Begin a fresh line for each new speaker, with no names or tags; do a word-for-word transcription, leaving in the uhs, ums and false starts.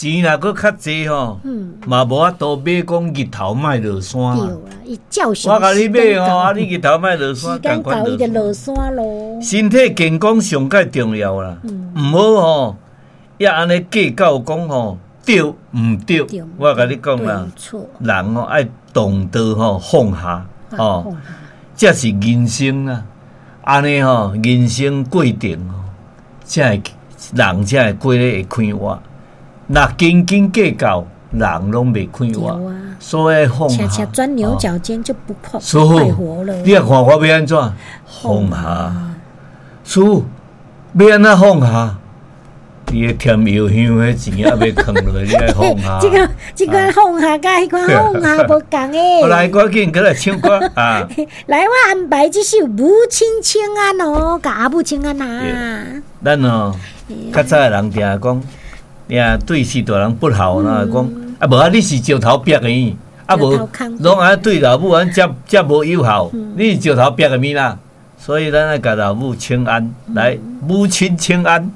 錢若閣較濟吼，嘛無法度買講日頭莫落山。
對啊，伊照常。
我共你買吼，啊你日頭莫落山，
時間到伊就落山囉。
身體健康上蓋重要啦，毋好吼，也按呢計較講吼對毋對？我共你講啦，人吼愛懂得吼放下，吼，這是人生啊。按呢吼，人生過程吼，才會人才會過得會快活。若斤斤計較，人攏袂快活。所以放下。
恰恰鑽牛角尖就不快快活了。
你若看我欲按怎？放下。師父，欲按怎放下？你的添藥香彼錢猶未囥落，你愛放下。
這個這款放下佮彼款放下無仝的。
來，趕緊閣來唱歌啊！
來，我安排這首《母親請安》哦，共阿母請安啊。
咱哦，較早的人定講，呀，對序大人不孝，那講啊，無啊，你是石頭壁的，啊無，攏愛對老母按遮遮無友好，你是石頭壁的物啦。所以咱愛共老母請安，來，母親請安。